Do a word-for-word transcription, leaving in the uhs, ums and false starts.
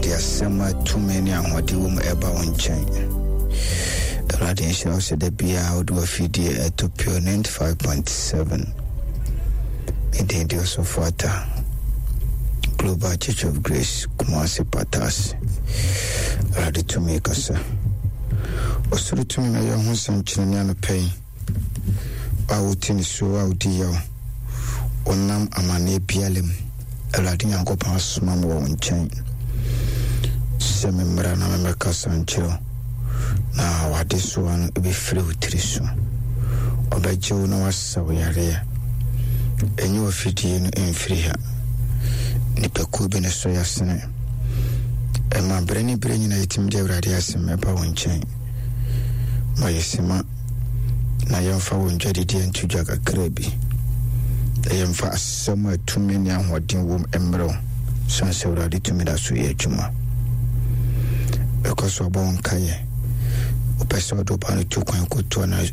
De asɛm a tumi ne ahoɔden wɔ mu ɛba wo nkyɛn. Awurade nhyira wo sɛ da biara wode w'afidie ɛto Pure ninety-five point seven. Me din de Ɔsɔfo Ata, Global Church of Grace, Kumase Patas. Awurade tumi kasa. Ɔsoro tumi na yɛ ho nsɛnkyerɛnne anɔpɛ yi. A wote ne so a wodi yaw, wonam amanneɛ biara mu. Awurade Nyankopɔn asoma me wɔ wo nkyɛn sɛ memmra na memmɛkasa nkyerɛ wo na w'adesoa no ɛbɛfiri wo tiri so. Ɔbɛgye wo na wasa wo yareɛ. Ɛnyɛ w'afidie no ɛmfiri ha. Nipakuo bi ne so yɛasene ɛma berɛ ne berɛ nyina yɛtumi de Awurade asɛm ɛba wo nkyɛn. Ma yɛsima na yɛmfa wo ndwadideɛ nto dwa kakra bi na yɛmfa asɛm a tumi ne ahoɔden wom mmerɛ wo, sane sɛ Awurade tumi da so yɛ adwuma. Ɛkɔ so abɔ wo nkaeɛ, wopɛ sɛ wode wo ba no tu kwan kɔtu ana.